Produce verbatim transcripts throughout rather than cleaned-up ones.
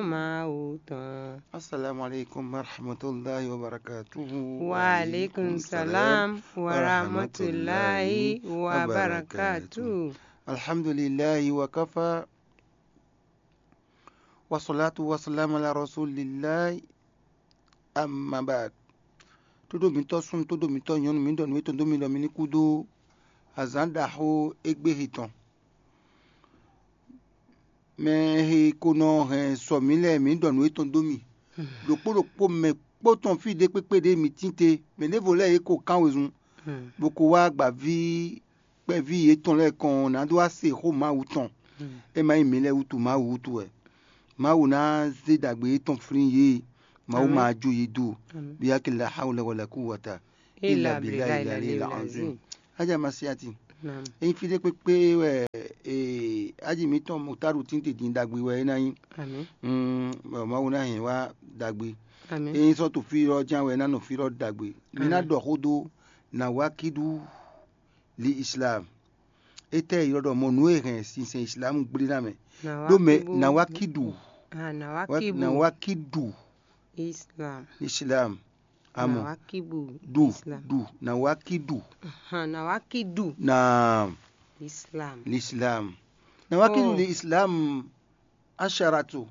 Mawu tɔn. Assalamu alaikum warahmatullahi wabarakatuhu. Wa alaikum salam warahmatullahi wabarakatuh. Alhamdulillahi wa kafa. Wa salatu wa salam ala rasulillahi. Amma ba'd. Tódó mǐtɔn súnnu, tódó mǐtɔn nyɔ̌nu, mǐ ɖɔ nǔ e tɔn dó mi ɖɔ mi ní kú dó azǎn ɖaxó égbé he tɔn. Mɛ he ko nɔ hɛn sɔ mǐ lɛ́ɛ, mǐ ɖɔ nǔ e tɔn dó mi. Ɖokpó ɖokpó mɛ kpó tɔn fí ɖé kpékpé ɖě mǐ tín te, mɛ ɖěvo lɛ́ɛ yě ko kán wezun, bó ko wá gbǎví kpɛví yětɔn lɛ́ɛ kɔn ɔ́, ná dó wá se xó Mawu tɔn. É ma nyí mǐ lɛ́ɛ wútu, Mawu wútu wɛ. Mawu ná zé ɖagbe yětɔn flín yě. Mawu ma jó yě dó. Bíyákilá hawla wala kúwata illa billahi lalil azim. Ájá Masiati. Ényí fí ɖé kpékpé wɛ aji mǐtɔn Mutaru tín te din ɖagbe wɛ é ná nyí. Mawu ná hɛn wá ɖagbe. Ényí sɔ́ to fí lɔ ján wɛ é ná nɔ fí lɔ ɖagbe. Mǐ ná ɖɔ xó dó nǎ wá kíɖú li Islam. Étɛ́ ylɔ́ ɖɔ mɔ nǔ e hɛn sinsɛn Islam gblé ná mɛ? Ɖó mɛ nǎ wá kíɖu. Nǎ wá kíɖu. Islam. Islam. Amɔ. Nǎ wá kíɖu. Ɖu. Islam. Ɖu. Nǎ wá kíɖu. Nǎ wá kíɖu. Naam. Islam. L'Islam. Nǎ wá kíɖu li Islam. Asharatu.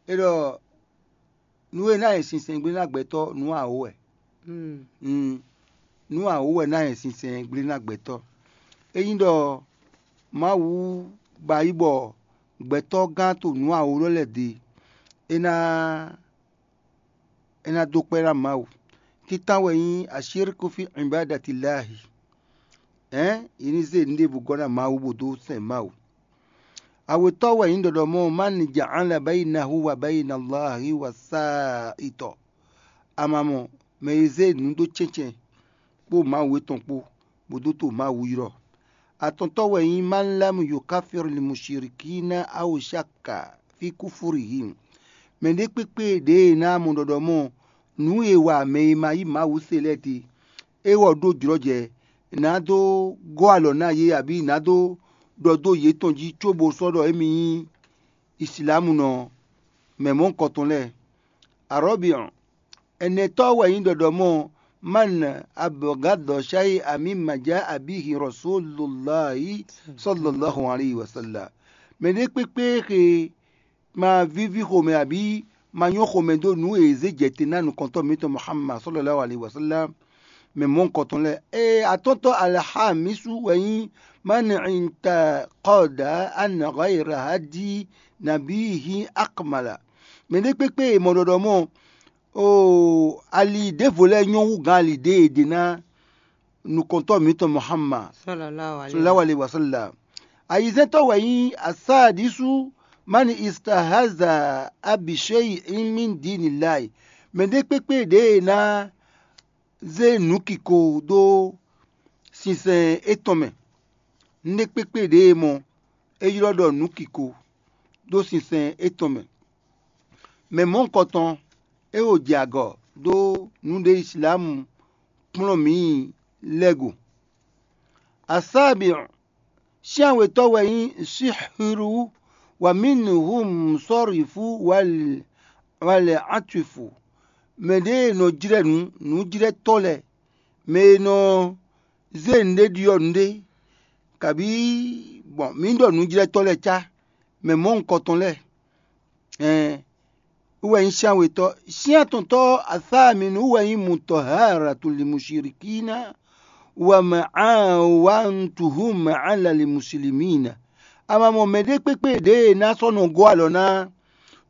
É ɖɔ nǔ e ná nyɛ sinsɛn gblé ná gbɛtɔ́ nǔ awǒ wɛ. Nǔ awǒ wɛ ná nyɛ sinsɛn gblé ná gbɛtɔ́. Ényí ɖɔ Mawu ba yí bɔ gbɛtɔ́ gán to nǔ awǒ lɔ lɛ́ɛ ɖe, é ná é ná dó kpɛ́ ná Mawu. Títán wɛ nyí ashirku fi ibadatillahi. Hɛ̌n, è ní zé nǔ ɖěbǔ gɔ́ ná Mawu bó dó sɛn Mawu. Awětɔ́ wɛ nyí ɖɔɖɔmɔ man ja'ala bainahu wa baina Allahi wa sa'itɔ. Amamɔ mɛ e zé nǔ dó cɛ́ncɛ́n kpó Mawu etɔn kpó, bó dó to Mawu ylɔ́. Atɔntɔ́ wɛ nyí man lam yukafir li mushirikina aw shakka fi kufurihim. Mɛ ɖé kpékpé ɖěe ná mɔ ɖɔɖɔmɔ nǔ e wa mɛ e ma yí Mawu se lɛ́ɛ te, é wɔ ɖó jlɔ́jɛ, nǎ dó gɔ́ alɔ ná yě abǐ nǎ dó ɖɔ dó yětɔn jí cóbó sɔ́ ɖɔ émí nyí Islamunɔ mɛ mɔ̌hunkɔtɔn lɛ́ɛ. Arɔ̌biɔn, ɛnɛtɔ́ wɛ nyí ɖɔɖɔmɔ man abɔgádɔ shay'an mimma ja'a bihi Rasulullahi sallallahu alayhi wa sallam. Mɛ ɖé kpékpé xe ma víví xomɛ abǐ ma nyɔ́ xomɛ dó nǔ e è zě jɛ te ná nukɔntɔ́ mǐtɔn Muhammad sallallahu alaihi wasallam mɛ mɔ̌hunkɔtɔn lɛ́ɛ. Ée atɔ́ntɔ́ alhamisu wɛ nyí man intaqada anna ghayra hadi nabihi akmala. Mɛ ɖé kpékpé e mɔ ɖɔɖɔ mɔ oo ali ɖěvo lɛ́ɛ nyɔ́ hú gǎn ali ɖě e è ɖe ná nukɔntɔ́ mǐtɔn Muhammad sallallahu alaihi wasallam. Ayizɛ́ntɔ́ wɛ nyí asadisu mani istahaza abishei min dinillahi. Mɛ ɖé kpékpé ɖě e ná zé nǔkiko dó sinsɛn étɔn mɛ. Nǔɖé kpékpé ɖě e mɔ é ylɔ́ ɖɔ nǔkiko dó sinsɛn étɔn mɛ. Mɛ mɔ̌hunkɔtɔn é wo jɛ agɔ dó nǔɖé Islamu kplɔ́n mǐ lɛ́ɛ go. Asábǐ Cyánwetɔ́ wɛ nyí Sihru, wa minhum sɔ́rifu, wal atwifu. Mɛ ɖě e nɔ jlɛ́ nǔ, nǔjlɛ́tɔ́ lɛ́ɛ, mɛ e nɔ zé nǔɖé ɖyɔ́ nǔɖé, kabǐ gbɔn mǐ ɖɔ nǔjlɛ́tɔ́ lɛ́ɛ cá, mɛ mɔ̌hunkɔtɔn lɛ́ɛ. Ɛn wú wɛ nyí cyánwetɔ́. Cyántɔntɔ́ asáminu wú wɛ nyí mutɔharatul mushirikina wa ma'awantuhum ala li muslimina. A ma mɔ mɛɖé kpékpé ɖě e ná sɔ́ nɔ gɔ́ alɔ ná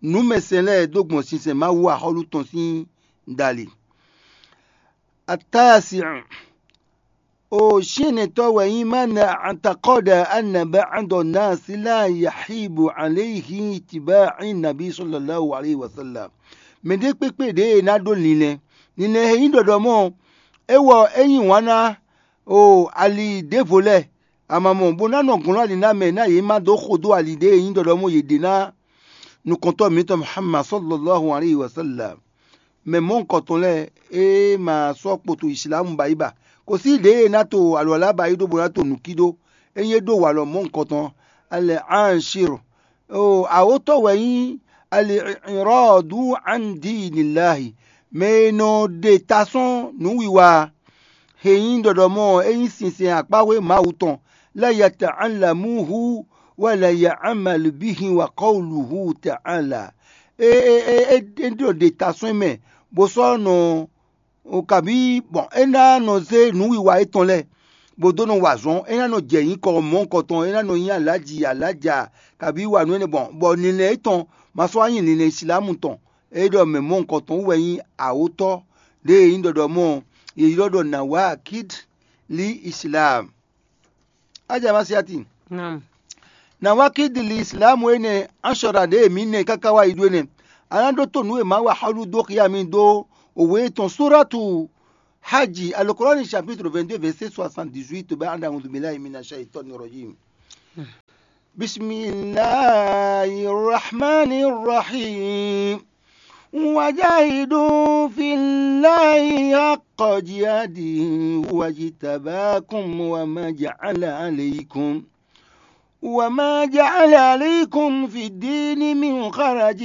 nǔmɛsɛn lɛ́ɛ dó gbɔn sinsɛn Mawu axɔ́lú tɔn sín dali. Atasi'u. O syɛ́nnɛtɔ́ wɛ nyí mana antakɔda anaba andɔ nasi la yahibu aleihi tiba nabi sallallahu alaihi wasallam. Mɛɖé kpékpé ɖě e ná ɖó linlɛn, linlɛn e nyí ɖɔɖɔ mɔ é wɔ é yí wǎn ná o ali ɖěvo lɛ́ɛ, a ma mɔ bó ná nɔ glɔ́n ali ná mɛ ná yě má dó xo dó ali ɖě e nyí ɖɔɖɔ mɔ yě ɖe ná nukɔntɔ́ mǐtɔn Muhammad sallallahu alaihi wasallam. Mɛ mɔ̌hunkɔtɔn lɛ́ɛ e ma sɔ́ kpoto Islamu ba yi ba, kò sí ɖěe ná to alwala ba yi ɖó bó ná to nǔkí ɖó, é nyí é ɖó walɔ mɔ̌hunkɔtɔn. Alɛ anshiro o awotɔ wɛ nyí al-i'radu an dinillahi, mɛ e nɔ ɖe ta sɔ́n nǔwiwa, he nyí ɖɔɖɔmɔ e nyí sinsɛn akpáxwé Mawu tɔn, la yata'allamuhu wa la ya'malu bihi wa qawluhu ta'ala. E e e e e nɔ ɖe ta sɔ́n mɛ, bó sɔ́ nɔ o kabǐ bɔn é ná nɔ zé nǔwiwa étɔn lɛ́ɛ, bó dó nɔ wa azɔ̌n, é ná nɔ jɛ nyǐkɔ mɔ̌hunkɔtɔn, é ná nɔ nyí alǎji alǎja kabǐ wa nǔ énɛ́ gbɔn, bɔ ninlɛ́ étɔn ma sɔ́ wá nyí ninlɛ́ Islamu tɔn. É ɖɔ mɛ mɔ̌hunkɔtɔn wú wɛ nyí awǒtɔ́ ɖěe nyí ɖɔɖɔmɔ e ylɔ́ ɖɔ Nawakid li Islam. Aja ma siati. Nawakid li Islam énɛ́, anshɔra ɖě e mǐ nɛ káká wá yi ɖó énɛ́. A nǎ ɖótó nǔ e Mawu wa xɔ́lú dó xyá mi dó òwe tɔn Suratu Hajji, Alukɔrɔni chapitre vingt-deux, verset soixante-dix-huit, bɛ anda a'udhu billahi minash shaitani rajim. Bismillahirrahmanirrahim. Wajahidu fillahi haqqa jihadihi huwa jitabakum wa ma ja'ala alaykum وما جعل عليكم في الدين من حرج،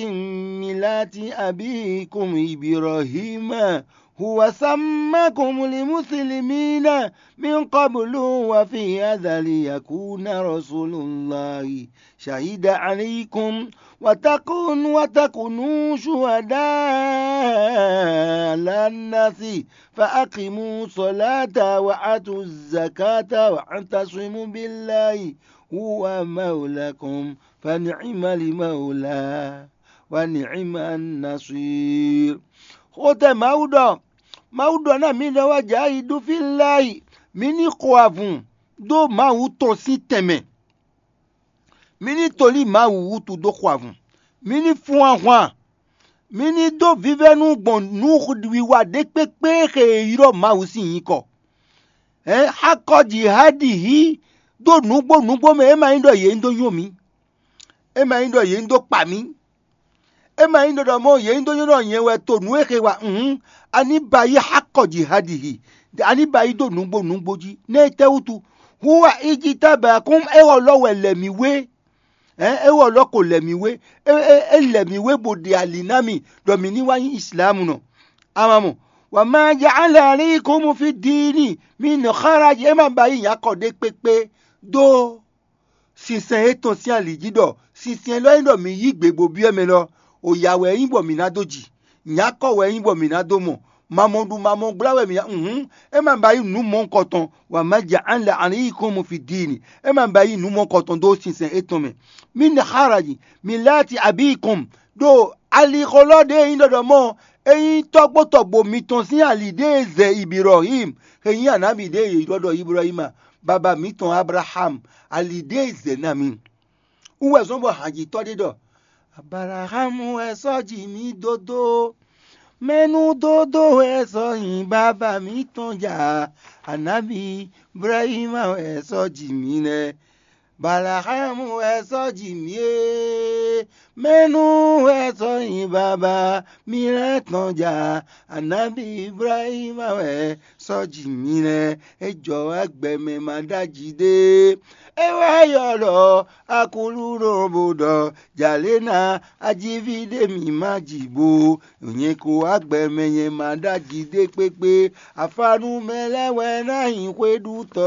ملة أبيكم إبراهيم هو سماكم المسلمين من قبل وفي هذا ليكون رسول الله شهيدا عليكم وتكون وتكونوا شهداء على الناس فأقيموا الصلاة وآتوا الزكاة واعتصموا بالله هو مولاكم فنعم المولى ونعم النصير. Xó tɛ Mawu ɖɔ, Mawu ɖɔ ná mǐ ɖɔ wá jǎ yi ɖó fí láyi, mǐ ní xo avun dó Mawu tɔn sín tɛnmɛ. Mǐ ní tolí Mawu wútu dó xo avun. Mǐ ní fún ahwan. Mǐ ní dó vívɛ́nu gbɔn nǔwiwa ɖé kpékpé e xe e ylɔ́ Mawu sín nyǐkɔ. Hɛ̌n, xá kɔ jǐ há ɖi hí dó nǔgbó nǔgbó mɛ, é ma nyí ɖɔ yě ní dó nyo mǐ. É ma nyí ɖɔ yě ní dó kpa mǐ. É ma nyí ɖɔ ɖɔ mɔ yě nyí dó nyo ɖɔ nyɛ wɛ to nǔ e xe wa hǔn, a ní ba yí xá kɔ jǐ há ɖi hí, a ní ba yí dó nǔgbó nǔgbó jí. Nɛ́ tɛ́ wútu? Hu wa íjí tábɛ akún é wɔ lɔ wɛ lɛ mǐ wé. Hɛ̌n, é wɔ lɔ ko lɛ mǐ wé. É é é lɛ mǐ wé bó ɖe ali ná mì ɖɔ mǐ ní wá nyí Islamu nɔ. Ama mɔ, wǎ ma ja alɛ alí kó mu fí diini, mi nɔ xára jí, é ma ba yí nyakɔ ɖé kpékpé dó sinsɛn étɔn sín ali jí ɖɔ sinsɛn élɔ́ nyí ɖɔ mǐ yí gbe bó byɔ́ mɛ lɔ, o ya wɛ é nyí bɔ mǐ ná dó ji, nyǎkɔ wɛ é nyí bɔ mǐ ná dó mɔ, mamɔɖu mamɔgbla wɛ mǐ ná. Hǔn, é ma ba yí nǔ mɔ̌hunkɔtɔn, wǎ ma ja an la an yí kɔn mu fi diini, é ma ba yí nǔ mɔ̌hunkɔtɔn dó sinsɛn étɔn mɛ. Mi nɛ xáraji, mi láti abí kɔn ɖo alixɔlɔ́ ɖě e nyí ɖɔɖɔ mɔ, é nyí tɔ́gbó tɔgbo mitɔn sín ali ɖě e zɛ Ibirɔhim, e nyí anábì ɖě e yě ylɔ́ ɖɔ Ibrahima, baba mǐtɔn Ablaham, ali ɖě e zɛ ná mi. Wú wɛ zɔ́n bɔ hanjitɔ́ ɖé ɖɔ: Abalaxámu wɛ sɔ́ ji mì dódó. Mɛnú dódó wɛ sɔ́ nyi baba mǐtɔn ja. Anábì Ibrahima wɛ sɔ́ ji mì nɛ́. Abalaxámu wɛ sɔ́ ji mì é. Mɛnú wɛ sɔ́ nyi baba mì lɛ́ tɔn ja. Anábì Ibrahima wɛ sɔ́ ji mì nɛ́. É jɔ wá gbɛ mɛ ma ɖ'aji ɖé. É wá ylɔ́ Aklúnɔ bó ɖɔ: Jalě ná ajíví ɖé mì má ji bo. Nyɛ ko wá gbɛ mɛ nyɛ ma ɖ'aji ɖé kpékpé. Afánú mɛ lɛ́ɛ wɛ ná nyí xwéɖutɔ́